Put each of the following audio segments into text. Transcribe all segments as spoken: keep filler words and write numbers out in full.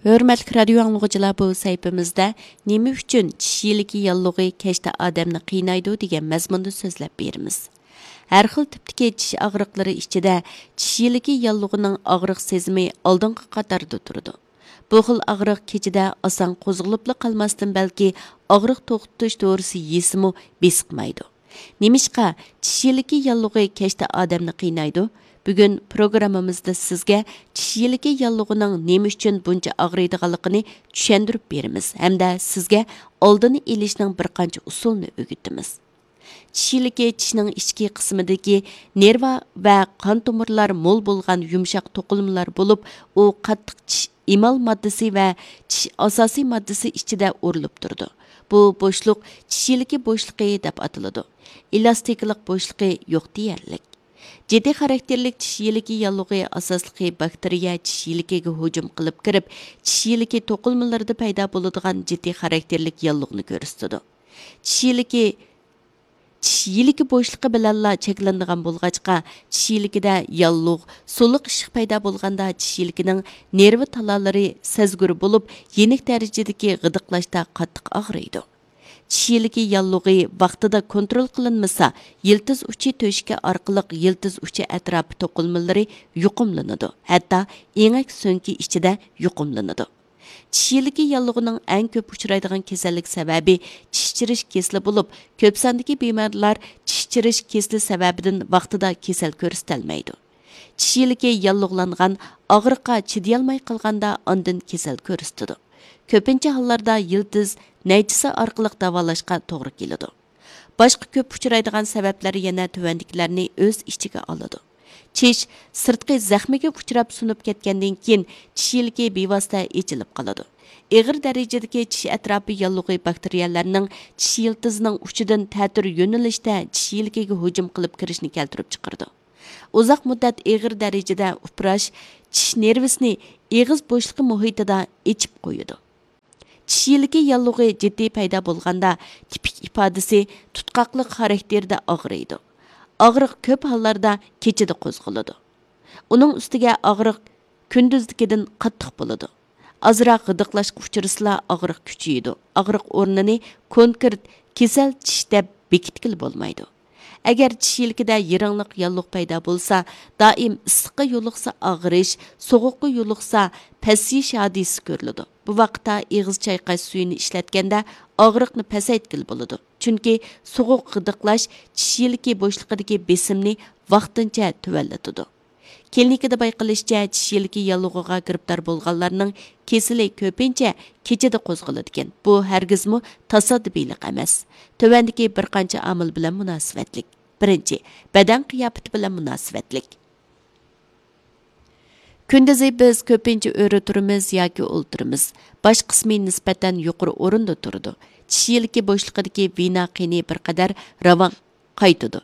ھۆرمەتلىك رادىيو ئاڭلىغۇچىلار، بۇ سەھىپىمىزدە نېمە ئۈچۈن چىش يىلىكى ياللۇغى كەچتە ئادەمنى قىينايدۇ دېگەن مەزمۇندا سۆزلەپ بېرىمىز. ھەر خىل تىپتىكى چىش ئاغرىقلىرى ئىچىدە چىش يىلىكى ياللۇغىنىڭ ئاغرىق سېزىمى ئالدىنقى قاتاردا تۇرىدۇ. بۇ خىل ئاغرىق كېچىدە ئاسان قوزغىلىپلا قالماستىن، بەلكى ئاغرىق توختىتىش دورىسى يېسىمۇ بېسىقمايدۇ. نېمىشقا چىش يىلىكى ياللۇغى كەچتە ئادەمنى قىينايدۇ؟ بۈگۈن پروگراممىمىزدا سىزگە چىش يىلىكى ياللۇغىنىڭ نېمە ئۈچۈن بۇنچە ئاغرىيدىغانلىقىنى چۈشەندۈرۈپ بېرىمىز ھەمدە سىزگە ئالدىنى ئېلىشنىڭ بىر قانچە ئۇسۇلىنى ئۆگىتىمىز. چىش يىلىكى چىشنىڭ ئىچكى قىسمىدىكى نېرۋا ۋە قان تومۇرلار مول بولغان يۇمشاق توقۇلمىلار بولۇپ، ئۇ قاتتىق چىش ئېمال ماددىسى ۋە چىش ئاساسىي ماددىسى ئىچىدە ئورۇلۇپ تۇرىدۇ. بۇ بوشلۇق چىش يىلىكى بوشلۇقى دەپ ئاتىلىدۇ. ئېلاستىكىلىق بوشلۇقى يوق دېيەرلىك. جىددىي خاراكتېرلىك چىش يىلىكى ياللۇغى ئاساسلىقى باكتېرىيە چىش يىلىكىگە ھۇجۇم قىلىپ كىرىپ، چىش يىلىكى توقۇلمىلىرىدا پەيدا بولىدىغان جىددىي خاراكتېرلىك ياللۇغنى كۆرسىتىدۇ. چىش يىلىكى چىش يىلىكى بوشلۇقى بىلەنلا چەكلىنىدىغان بولغاچقا، چىش يىلىكىدە ياللۇغ، سۇلۇق ئىششىق پەيدا بولغاندا چىش يىلىكىنىڭ نېرۋا تالالىرى سەزگۈر بولۇپ، يېنىك دەرىجىدىكى غىدىقلاشتا قاتتىق ئاغرىيدۇ. چىش يىلىكى ياللۇغى ۋاقتىدا كونترول قىلىنمىسا، يىلتىز ئۇچى تۆشۈكى ئارقىلىق يىلتىز ئۇچى ئەتراپى توقۇلمىلىرى يۇقۇملىنىدۇ، ھەتتا ئېڭەك سۆڭىكى ئىچىدە يۇقۇملىنىدۇ. چىش يىلىكى ياللۇغىنىڭ ئەڭ كۆپ ئۇچرايدىغان كېسەللىك سەۋەبى چىش چىرىش كېسىلى بولۇپ، كۆپ ساندىكى بىمارلار چىش چىرىش كېسىلى سەۋەبىدىن ۋاقتىدا كېسەل كۆرسىتەلمەيدۇ. چىش يىلىكى ياللۇغلانغان، ئاغرىققا چىدىيالماي قالغاندا ئاندىن كېسەل كۆرسىتىدۇ. كۆپىنچە ھاللاردا يىلتىز نەيچىسى ئارقىلىق داۋالاشقا توغرا كېلىدۇ. باشقا كۆپ ئۇچرايدىغان سەۋەبلەر يەنە تۆۋەندىكىلەرنى ئۆز ئىچىگە ئالىدۇ. چىش سىرتقى زەخمىگە ئۇچراپ سۇنۇپ كەتكەندىن كېيىن، چىش يىلىكى بىۋاسىتە ئېچىلىپ قالىدۇ. ئېغىر دەرىجىدىكى چىش ئەتراپى ياللۇغى باكتېرىيەلەرنىڭ چىش يىلتىزىنىڭ ئۇچىدىن تەتۈر يۆنىلىشتە چىش يىلىكىگە ھۇجۇم قىلىپ كىرىشنى كەلتۈرۈپ چىقىرىدۇ. ئۇزاق مۇددەت ئېغىر دەرىجىدە ئۇپراش چىش نېرۋىسىنى ئېغىز بوشلۇقى مۇھىتىدا ئېچىپ قويىدۇ. چىش يىلىكى ياللۇغى جىددىي پەيدا بولغاندا، تىپىك ئىپادىسى تۇتقاقلىق خاراكتېرىدە ئاغرىيدۇ. ئاغرىق كۆپ ھاللاردا كېچىدە قوزغىلىدۇ. ئۇنىڭ ئۈستىگە ئاغرىق كۈندۈزدىكىدىن قاتتىق بولىدۇ. ئازراق غىدىقلاشقا ئۇچرىسىلا، ئاغرىق كۈچىيىدۇ. ئاغرىق ئورنىنى كونكرېت كېسەل چىش دەپ بېكىتكىلى بولمايدۇ. ئەگەر چىش يىلىكىدە يىرىڭلىق ياللۇغ پەيدا بولسا، دائىم ئىسسىققا يولۇقسا ئاغرىش، سوغۇققا يولۇقسا پەسىيىش ھادىسىسى كۆرۈلىدۇ. بۇ ۋاقىتتا ئېغىز چايقاش سۈيىنى ئىشلەتكەندە ئاغرىقنى پەسەيتكىلى بولىدۇ. چۈنكى سوغۇق غىدىقلاش چىش يىلىكى بوشلۇقىدىكى بېسىمنى ۋاقتىنچە تۆۋەنلىتىدۇ. كلىنىكىدا بايقىلىشىچە، چىش يىلىكى ياللۇغىغا گىرىپتار بولغانلارنىڭ كېسىلى كۆپىنچە كېچىدە قوزغىلىدىكەن. بۇ ھەرگىزمۇ تاسادىپىيلىق ئەمەس. تۆۋەندىكى بىر قانچە ئامىل بىلەن مۇناسىۋەتلىك. بىرىنچى، بەدەن قىياپىتى بىلەن مۇناسىۋەتلىك. كۈندۈزى بىز كۆپىنچە ئۆرە تۇرىمىز ياكى ئولتۇرىمىز. باش قىسمى نىسبەتەن يۇقىرى ئورۇندا تۇرىدۇ. چىش يىلىكى بوشلۇقىدىكى ۋېنا قېنى بىر قەدەر راۋان قايتىدۇ.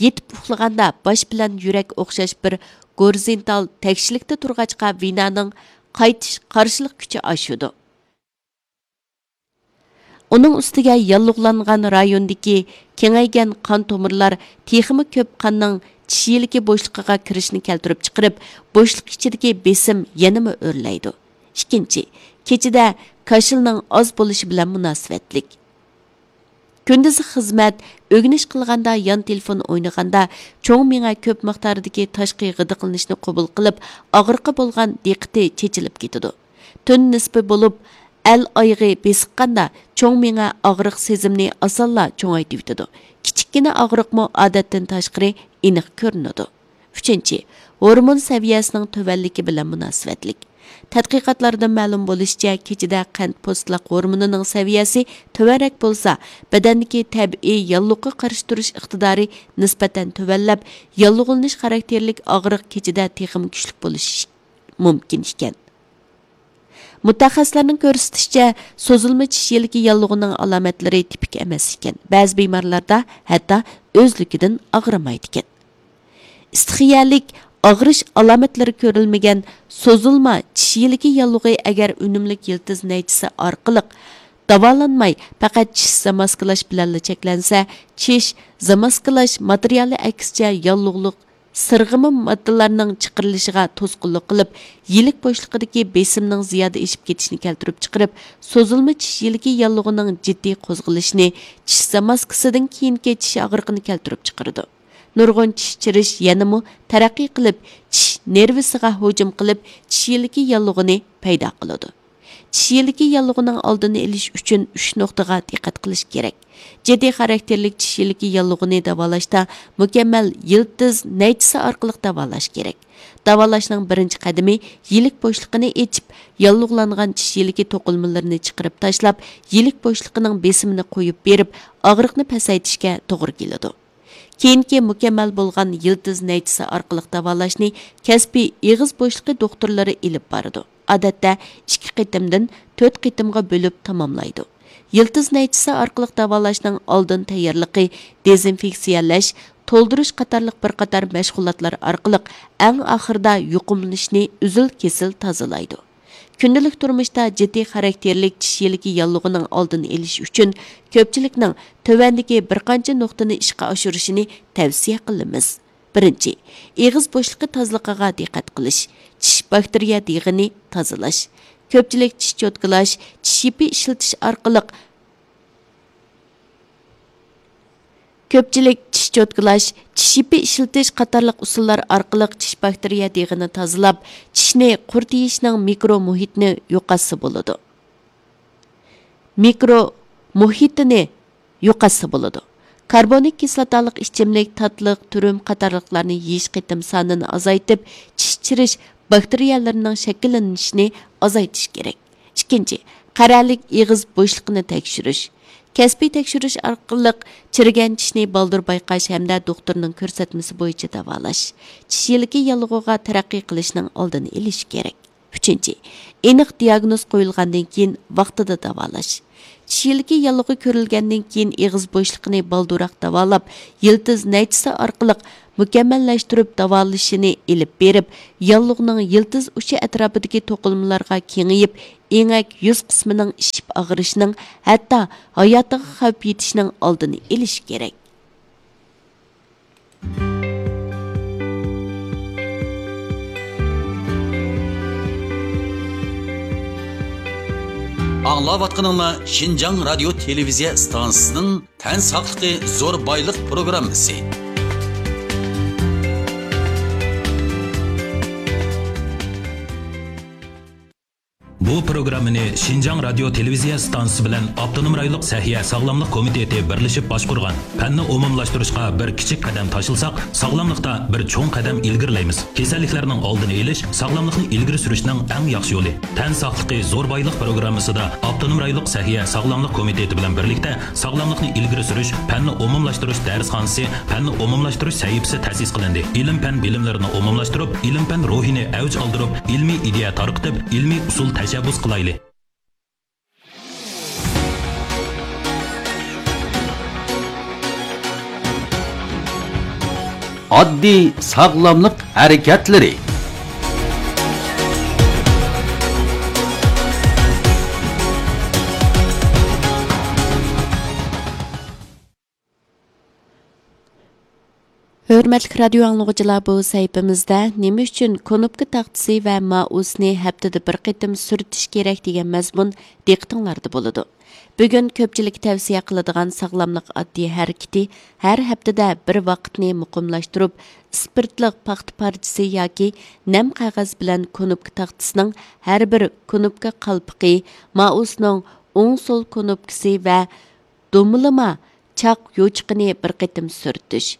يېتىپ ئۇخلىغاندا باش بىلەن يۈرەك ئوخشاش بىر گورىزونتال تەكشىلىكتە تۇرغاچقا، ۋېنانىڭ قايتىش قارشىلىق كۈچى ئاشىدۇ. ئۇنىڭ ئۈستىگە ياللۇغلانغان رايوندىكى كېڭەيگەن قان تومۇرلار تېخىمۇ كۆپ قاننىڭ چىش يىلىكى بوشلۇقىغا كىرىشىنى كەلتۈرۈپ چىقىرىپ، بوشلۇق ئىچىدىكى بېسىم يەنىمۇ ئۆرلەيدۇ. ئىككىنچى، كېچىدە كاشىلنىڭ ئاز بولۇشى بىلەن مۇناسىۋەتلىك. كۈندۈزى خىزمەت، ئۆگىنىش قىلغاندا، يان تېلېفون ئوينىغاندا چوڭ مېڭە كۆپ مىقداردىكى تاشقى غىدىقلىنىشنى قوبۇل قىلىپ، ئاغرىققا بولغان دىققىتى چېچىلىپ كېتىدۇ. تۈن نىسپى بولۇپ، ئەل ئايىغى بېسىققاندا، چوڭ مېڭە ئاغرىق سېزىمىنى ئاسانلا چوڭايتىۋېتىدۇ. كىچىككىنە ئاغرىقمۇ ئادەتتىن تاشقىرى ئېنىق كۆرۈنىدۇ. ئۈچىنچى، ھورمون سەۋىيەسىنىڭ تۆۋەنلىكى بىلەن مۇناسىۋەتلىك. تەتقىقاتلاردىن مەلۇم بولۇشىچە، كېچىدە قەنت پوستلاق ھورمونىنىڭ سەۋىيەسى تۆۋەنرەك بولسا، بەدەندىكى تەبىئىي ياللۇغقا قارشى تۇرۇش ئىقتىدارى نىسبەتەن تۆۋەنلەپ، ياللۇغلىنىش خاراكتېرلىك ئاغرىق كېچىدە تېخىمۇ كۈچلۈك بولۇشى مۇمكىن ئىكەن. مۇتەخەسسىسلەرنىڭ كۆرسىتىشىچە، سوزۇلما چىش يىلىكى ياللۇغىنىڭ ئالامەتلىرى تىپىك ئەمەس ئىكەن. بەزى بىمارلاردا ھەتتا ئۆزلۈكىدىن ئاغرىمايدىكەن. ئىستىخىيەلىك ئاغرىش ئالامەتلىرى كۆرۈلمىگەن سوزۇلما چىش يىلىكى ياللۇغى ئەگەر ئۈنۈملۈك يىلتىز نەيچىسى ئارقىلىق داۋالانماي، پەقەت چىش زاماسكىلاش بىلەنلا چەكلەنسە، چىش زاماسكىلاش ماتېرىيالى ئەكسىچە ياللۇغلۇق سىرغىما ماددىلارنىڭ چىقىرىلىشىغا توسقۇنلۇق قىلىپ، يىلىك بوشلۇقىدىكى بېسىمنىڭ زىيادە ئېشىپ كېتىشىنى كەلتۈرۈپ چىقىرىپ، سوزۇلما چىش يىلىكى ياللۇغىنىڭ جىددىي قوزغىلىشىنى، چىش زاماسكىسىدىن كېيىنكى چىش ئاغرىقىنى كەلتۈرۈپ چىقىرىدۇ. نۇرغۇن چىش چىرىش يەنىمۇ تەرەققىي قىلىپ، چىش نېرۋىسىغا ھۇجۇم قىلىپ، چىش يىلىكى ياللۇغىنى پەيدا قىلىدۇ. چىش يىلىكى ياللۇغىنىڭ ئالدىنى ئېلىش ئۈچۈن ئۈچ نۇقتىغا دىققەت قىلىش كېرەك. جىددىي خاراكتېرلىك چىش يىلىكى ياللۇغىنى داۋالاشتا مۇكەممەل يىلتىز نەيچىسى ئارقىلىق داۋالاش كېرەك. داۋالاشنىڭ بىرىنچى قەدىمى يىلىك بوشلۇقىنى ئېچىپ، ياللۇغلانغان چىش يىلىكى توقۇلمىلىرىنى چىقىرىپ تاشلاپ، يىلىك بوشلۇقىنىڭ بېسىمىنى قويۇپ بېرىپ، ئاغرىقنى پەسەيتىشكە توغرا كېلىدۇ. كېيىنكى مۇكەممەل بولغان يىلتىز نەيچىسى ئارقىلىق داۋالاشنى كەسپىي ئېغىز بوشلۇقى دوختۇرلىرى ئېلىپ بارىدۇ. ئادەتتە ئىككى قېتىمدىن تۆت قېتىمغا بۆلۈپ تاماملايدۇ. يىلتىز نەيچىسى ئارقىلىق داۋالاشنىڭ ئالدىن تەييارلىقى، دېزىنفېكسىيەلەش، تولدۇرۇش قاتارلىق بىر قاتار مەشغۇلاتلار ئارقىلىق ئەڭ ئاخىرىدا يۇقۇملىنىشنى ئۈزۈل-كېسىل تازىلايدۇ. كۈندىلىك تۇرمۇشتا جىددىي خاراكتېرلىك چىش يىلىكى ياللۇغىنىڭ ئالدىنى ئېلىش ئۈچۈن كۆپچىلىكنىڭ تۆۋەندىكى بىر قانچە نۇقتىنى ئىشقا ئاشۇرۇشىنى تەۋسىيە قىلىمىز. بىرىنچى، ئېغىز بوشلۇقى تازىلىقىغا دىققەت قىلىش، چىش باكتېرىيە دېغىنى تازىلاش. كۆپچىلىك چىش چوتكىلاش، چىش يىپى ئىشلىتىش ئارقىلىق كۆپچىلىك چىش چوتكىلاش، چىش يىپى ئىشلىتىش قاتارلىق ئۇسۇللار ئارقىلىق چىش باكتېرىيە دېغىنى تازىلاپ، چىشنى قۇرۇتۇۋېتىشنىڭ مىكرو مۇھىتىنى يوقاتسا بولىدۇ. مىكرو مۇھىتىنى يوقاتسا بولىدۇ. كاربونىك كىسلاتالىق ئىچىملىك، تاتلىق، تۈرۈم قاتارلىقلارنى يېيىش قېتىم سانىنى ئازايتىپ، چىش چىرىش باكتېرىيەلىرىنىڭ شەكىللىنىشىنى ئازايتىش كېرەك. ئىككىنچى، قەرەلىك ئېغىز بوشلۇقىنى تەكشۈرۈش. كەسپىي تەكشۈرۈش ئارقىلىق چىرىگەن چىشنى بالدۇر بايقاش ھەمدە دوختۇرنىڭ كۆرسەتمىسى بويىچە داۋالاش، چىش يىلىكى ياللۇغىغا تەرەققىي قىلىشنىڭ ئالدىنى ئېلىش كېرەك. ئۈچىنچى، ئېنىق دىياگنوز قويۇلغاندىن كېيىن ۋاقتىدا داۋالاش. چىش يىلىكى ياللۇغى كۆرۈلگەندىن كېيىن ئېغىز بوشلۇقىنى بالدۇرراق داۋالاپ، يىلتىز نەيچىسى ئارقىلىق مۇكەممەللەشتۈرۈپ داۋالىشىنى ئېلىپ بېرىپ، ياللۇغنىڭ يىلتىز ئۇچى ئەتراپىدىكى توقۇلمىلارغا كېڭىيىپ، ئېڭەك يۈز قىسمىنىڭ ئىششىپ ئاغرىشىنىڭ، ھەتتا ھاياتىغا خەۋپ يېتىشنىڭ ئالدىنى ئېلىش كېرەك. ئاڭلاۋاتقىنىڭلار شىنجاڭ رادىيو تېلېۋىزىيە ئىستانسىسىنىڭ تەن ساقلىقى زور بايلىق پروگراممىسى. بۇ پروگراممىنى شىنجاڭ رادىيو تېلېۋىزىيە ئىستانسىسى بىلەن ئاپتونوم رايونلۇق سەھىيە ساغلاملىق كومىتېتى بىرلىشىپ باشقۇرغان. پەننى ئومۇملاشتۇرۇشقا بىر كىچىك قەدەم تاشلىساق، ساغلاملىقتا بىر چوڭ قەدەم ئىلگىرىلەيمىز. كېسەللىكلەرنىڭ ئالدىنى ئېلىش، ساغلاملىقنى ئىلگىرى سۈرۈشنىڭ ئەڭ ياخشى يولى. تەن ساقلىقى زور بايلىق پروگراممىسىدا ئاپتونوم رايونلۇق سەھىيە ساغلاملىق كومىتېتى بىلەن بىرلىكتە ساغلاملىقنى ئىلگىرى سۈرۈش، پەننى ئومۇملاشتۇرۇش دەرسخانىسى، پەننى ئومۇملاشتۇرۇش سەھىپىسى تەسىس قىلىندى. ئىلىم-پەن بىلىملىرىنى ئومۇملاشتۇرۇپ، ئىلىم-پەن روھىنى ئەۋج ئالدۇرۇپ، ئىلمىي ئىدىيە تارقىتىپ، ئىلمىي ئۇسۇل تەشەببۇس قىلايلى. ئاددىي ساغلاملىق ھەرىكەتلىرى. ھۆرمەتلىك رادىيو ئاڭلىغۇچىلار، بۇ سەھىپىمىزدە نېمە ئۈچۈن كۇنۇپكا تاختىسى ۋە مائۇسنى ھەپتىدە بىر قېتىم سۈرتۈش كېرەك دېگەن مەزمۇن دىققىتىڭلاردا بولىدۇ. بۈگۈن كۆپچىلىككە تەۋسىيە قىلىدىغان ساغلاملىق ئاددىي ھەرىكىتى، ھەر ھەپتىدە بىر ۋاقىتنى مۇقىملاشتۇرۇپ، ئىسپىرتلىق پاختا پارچىسى ياكى نەم قەغەز بىلەن كۇنۇپكا تاختىسىنىڭ ھەر بىر كۇنۇپكا قالپىقى، مائۇسنىڭ ئوڭ سول كۇنۇپكىسى ۋە دومىلىما چاق يوچۇقىنى بىر قېتىم سۈرتۈش.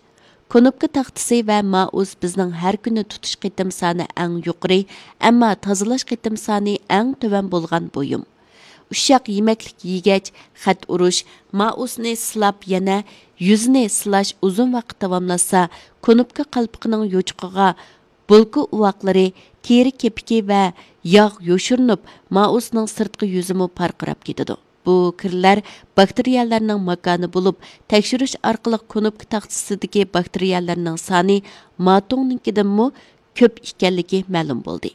كۇنۇپكا تاختىسى ۋە مائۇس بىزنىڭ ھەر كۈنى تۇتۇش قېتىم سانى ئەڭ يۇقىرى، ئەمما تازىلاش قېتىم سانى ئەڭ تۆۋەن بولغان بۇيۇم. ئۇششاق يېمەكلىك يېگەچ، خەت ئۇرۇش، مائۇسنى سىلاپ يەنە يۈزىنى سىلاش ئۇزۇن ۋاقىت داۋاملاشسا، كۇنۇپكا قالپىقىنىڭ يوچۇقىغا بولكا ئۇۋاقلىرى، تېرە كېپىكى ۋە ياغ يوشۇرۇنۇپ، مائۇسنىڭ سىرتقى يۈزىمۇ پارقىراپ كېتىدۇ. بۇ كىرلەر باكتېرىيەلەرنىڭ ماكانى بولۇپ، تەكشۈرۈش ئارقىلىق كۇنۇپكا تاختىسىدىكى باكتېرىيەلەرنىڭ سانى ماتوڭنىڭكىدىنمۇ كۆپ ئىكەنلىكى مەلۇم بولدى.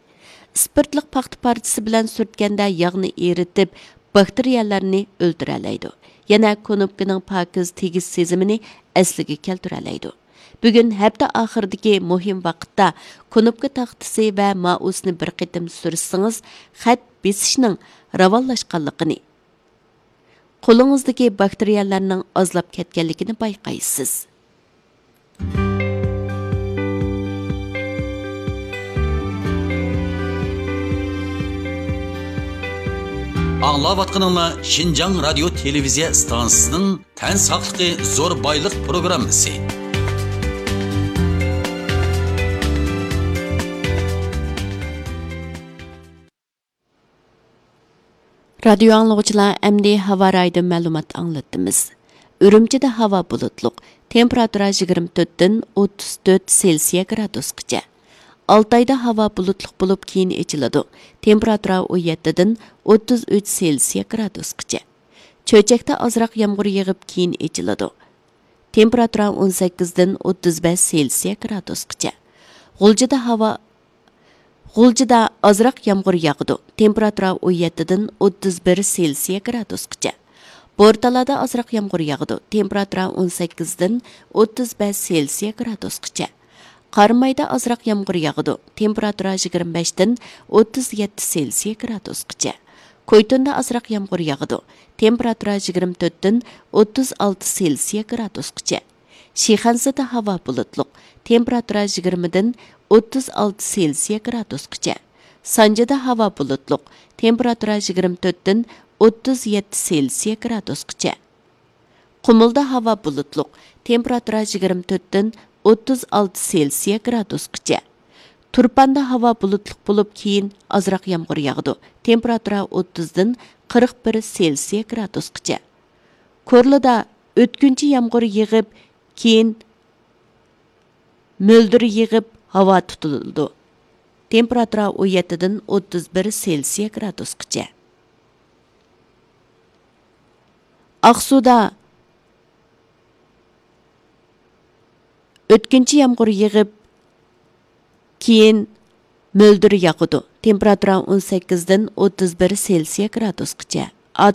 ئىسپىرتلىق پاختا پارچىسى بىلەن سۈرتكەندە ياغنى ئېرىتىپ، باكتېرىيەلەرنى ئۆلتۈرەلەيدۇ. يەنە كۇنۇپكىنىڭ پاكىز تېگىش سېزىمىنى ئەسلىگە كەلتۈرەلەيدۇ. بۈگۈن ھەپتە ئاخىرىدىكى مۇھىم ۋاقىتتا كۇنۇپكا تاختىسى ۋە مائۇسنى بىر قېتىم سۈرسىڭىز، خەت بېسىشنىڭ راۋانلاشقانلىقىنى، قولىڭىزدىكى باكتېرىيەلەرنىڭ ئازلاپ كەتكەنلىكىنى بايقايسىز. ئاڭلاۋاتقىنىڭلار شىنجاڭ رادىيو تېلېۋىزىيە ئىستانسىسىنىڭ تەن ساقلىقى زور بايلىق پروگراممىسى. رادىيو ئاڭلىغۇچىلار، ئەمدى ھاۋا رايىدىن مەلۇمات ئاڭلىتىمىز. ئۈرۈمچىدە ھاۋا بۇلۇتلۇق، تېمپېراتۇرا يىگىرمە تۆتتىن ئوتتۇز تۆت سېلسىيە گرادۇسقىچە. ئالتايدا ھاۋا بۇلۇتلۇق بولۇپ، كېيىن ئېچىلىدۇ. تېمپېراتۇرا ئون يەتتىدىن ئوتتۇز ئۈچ سېلسىيە گرادۇسقىچە. چۆچەكتە ئازراق يامغۇر يېغىپ، كېيىن ئېچىلىدۇ. تېمپېراتۇرا ئون سەككىزدىن ئوتتۇز بەش سېلسىيە گرادۇسقىچە. غۇلجىدا ھاۋا، غۇلجىدا ئازراق يامغۇر ياغىدۇ. تېمپېراتۇرا ئون يەتتىدىن ئوتتۇز بىر سېلسىيە گرادۇسقىچە. بورتالادا ئازراق يامغۇر ياغىدۇ. تېمپېراتۇرا ئون سەككىزدىن ئوتتۇز بەش سېلسىيە گرادۇسقىچە. قارامايدا ئازراق يامغۇر ياغىدۇ. تېمپېراتۇرا يىگىرمە بەشتىن ئوتتۇز يەتتە سېلسىيە گرادۇسقىچە. كويتۇندا ئازراق يامغۇر ياغىدۇ. تېمپېراتۇرا يىگىرمە تۆتتىن ئوتتۇز ئالتە سېلسىيە گرادۇسقىچە. شىخەنزىدە ھاۋا بۇلۇتلۇق، تېمپېراتۇرا يىگىرمىدىن ئوتتۇز ئالتە سېلسىيە گرادۇسقىچە. سانجىدا ھاۋا بۇلۇتلۇق، تېمپېراتۇرا يىگىرمە تۆتتىن ئوتتۇز يەتتە سېلسىيە گرادۇسقىچە. قۇمۇلدا ھاۋا بۇلۇتلۇق، تېمپېراتۇرا يىگىرمە تۆتتىن ئوتتۇز ئالتە سېلسىيە گرادۇسقىچە. تۇرپاندا ھاۋا بۇلۇتلۇق بولۇپ، كېيىن ئازراق يامغۇر ياغىدۇ. تېمپېراتۇرا ئوتتۇزدىن قىرىق بىر سېلسىيە گرادۇسقىچە. كورلىدا ئۆتكۈنچى يامغۇر يېغىپ، كېيىن مۆلدۈر يېغىپ، ھاۋا تۇتۇلىدۇ. تېمپېراتۇرا ئون يەتتىدىن ئوتتۇز بىر سېلسىيە گرادۇسقىچە. ئاقسۇدا ئۆتكۈنچى يامغۇر يېغىپ، كېيىن مۆلدۈر ياغىدۇ. تېمپېراتۇرا ئون سەككىزدىن ئوتتۇز بىر سېلسىيە گرادۇسقىچە.